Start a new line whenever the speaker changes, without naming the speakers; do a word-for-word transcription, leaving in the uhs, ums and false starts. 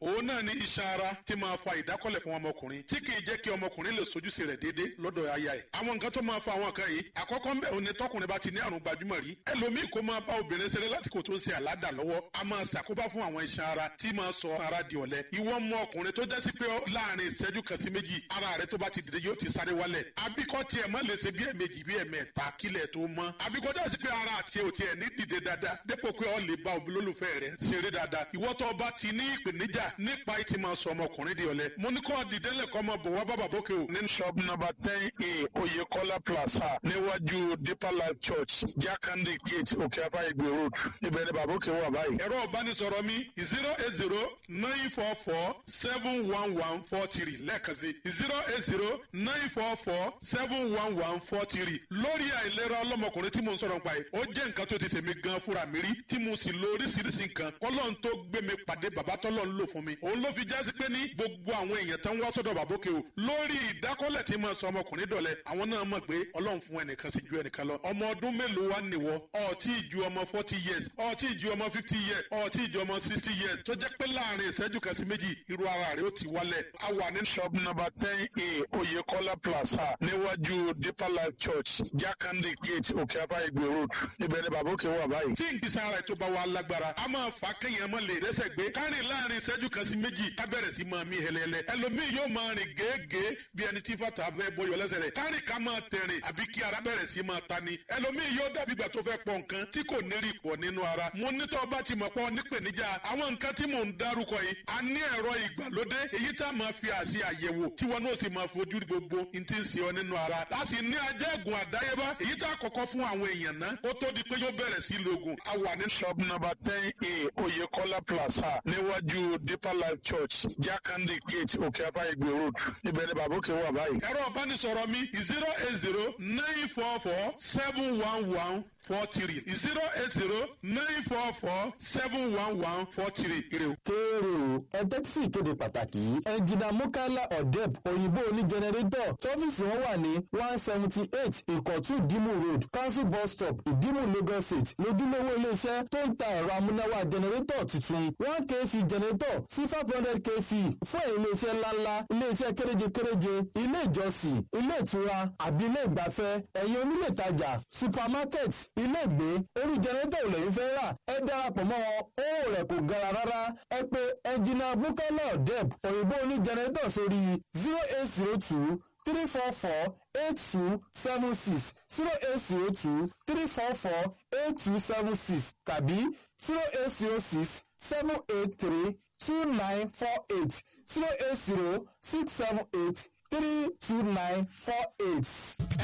Òun náà ni iṣan ara tí máa fa ìdákọ́lẹ̀ fún ọmọkùnrin tí kì í jẹ́ kí ọmọkùnrin lè sojúṣe rẹ̀ déédéé lọ́dọ̀ aya ẹ̀. Àwọn nǹkan tó máa fa àwọn nǹkan yìí, àkọ́kọ́ ń bẹ̀ òun ni tọkùnrin bá ti ní àrùn gbajúmọ̀ rí, ẹlòmíì kó máa bá obìnrin ṣeré lásìkò tó ń ṣe àládà lọ́wọ́, a máa ṣàkóbá fún àwọn iṣan ara tí máa sọ ara di ọ̀lẹ. Ìwọ mọ ọkùnrin tó jásí pé láàrin ìṣẹ́jú kan sí méjì, ara rẹ tó bá ti dìde yóò ti sáré wálẹ̀, àbíkọ́ tiẹ̀ má lè ṣe bí ẹ̀ẹ̀mejì bí ẹ̀ẹ̀mẹ́ta kílẹ̀ tó mọ́, àbíkọ́ jásí pé ara àti ò tiẹ̀ ní dìde dáadáa dépò pé ọ lè bá olólùfẹ́ rẹ ṣeré dáadáa. Ìwọ tó bá ti ní ìpèníjà nípa ìtì máa sọ ọmọkùnrin di ọ̀lẹ, mo ní kọ́ dìde lẹ́kọ́ máa bọ̀ wá bàbá bókè o.
Ní shop number ten A, Oyekola Plaza, níwájú Deeper Life Church, Jakande Gate, Òkè-Afá Ìgbè Road, ibẹ̀ ni bàbá òkè wà báyìí.
Ẹ̀rọ ìbánisọ̀rọ̀ mi zero eight zero nine four four seven one one four three, lẹ́ẹ̀kan sí zero eight zero nine four four seven one one four three. Lórí àìlera ọlọ́mọkùnrin tí mo ń sọ̀rọ̀ nípa yìí, ó jẹ́ nǹkan tó ti ṣèmi gan fúnra mi rí tí mo sì lo oríṣiríṣi nǹkan kọ́lọ́n tó gbé mi pàdé bàbá tọ́lọ́ ń lò fún mi. Òun ló fi jásí pé ní gbogbo àwọn èèyàn tó ń wá sọ́dọ̀ bàbá òkè o lórí ìdákọ́lẹ̀ tí mo sọ ọmọkùnrin dọ̀lẹ́, àwọn náà mọ̀ pé Ọlọ́run fún ẹnìkan sí ju ẹnìkan lọ. Ọmọ ọdún mélòó wá nìwọ? Ọtí ju ọmọ forty years, ọtí ju ọmọ fifty years, ọtí ju ọmọ sixty years, tó jẹ́ pé láàrin ìṣẹ́jú kan sí méjì irú ara rẹ̀ ó ti wálẹ̀.
A wà ní shop number ten A, Oyekola Plaza, níwájú Deeper Life Church, Jakande Gate, Òkè-Afá Ìgbè Road, ibẹ̀ ni bàbá òkè wà báyìí.
Tí nǹkan sára ètò bá wà lágbára, a máa fà á kéèyàn mọ́ lè rẹ́sẹ̀ gbé kárìn láàrin ìṣẹ́jú kan sí méjì, ká bẹ̀rẹ̀ sí máa mí hẹlẹ́hẹlẹ́. Ẹlòmíì yóò máa rìn gèégèé bí ẹni tí fàtà fẹ́ bọyọ̀ lẹ́sẹ̀ rẹ̀, kárìn ká máa tẹ̀rìn àbí kí ara bẹ̀rẹ̀ sí máa ta ni. Ẹlòmíì yóò dàbí ìgbà tó fẹ́ pọ̀ nǹkan tí kò ní rí pọ̀ nínú ara. Mo ní tó bá ti mọ̀ pọ̀ nípèníjà àwọn nǹkan tí mò ń dárúkọ yìí, a ní ẹ̀rọ ìgbàlódé èyí tá a máa fi àṣì àyẹ̀wò tí wọn náà sì máa fojú rí gbogbo n ti ń ṣe ọ nínú ara. Láti ní ajẹ́gùn àdáyébá èyí tá a kọ́kọ́ fún àwọn èèyàn ná ó tó di pé yóò bẹ̀rẹ̀ sí lògùn.
A wà ní shop number ten A, Oyekola Plaza, níwájú Deeper Life Church, Jakande Gate, Òkè-Afá Ìgbè Road, ibẹ̀ ni bàbá òkè wà báyìí.
Ẹ̀rọ ìbánisọ̀rọ̀ mi zero eight zero nine four four seven one one four three, zero eight zero nine four four seven one one four three. Ire o.
Kéèrè o, ẹ tẹ́tí sí ìkéde pàtàkì yìí. Ẹnjìnà Mukala Odeb, òyìnbó oní jẹnẹrétọ̀, tọ́fíìsì wọn wà ní one seventy eight Ìkọ̀tún Ìdímù Road, Council Bus Stop, Ìdímù, Lagos State. Lójúlówó iléeṣẹ́ tó ń ta ẹ̀rọ amúnáwá jẹnẹrétọ̀ tuntun, one kv jẹnẹrétọ̀ sí five hundred kv, fún ẹ̀yin iléeṣẹ́ ńláńlá, iléeṣẹ́ kéréje-kéréje, ilé ìjọsìn, ilé ìtura àbí ilé ìgbafẹ́, ẹ̀yin onílé ìtajà, supermarket, ilé ìgbé, orí jẹnẹrétọ̀ ò lẹ́yìn fẹ́ rà, ẹ darapọ̀ mọ́ wọn, owó rẹ̀ kò gara rárá. Ẹ pè ẹnjìnà Bukala Odeb, òyìnbó oní jẹnẹrétọ̀, sórí zero eight zero two three four four eight two seven six, zero eight zero two three four four eight two seven six, tàbí zero eight zero six seven eight three two nine four eight, zero eight zero six seven eight three two nine four eight.
Ẹ̀rọ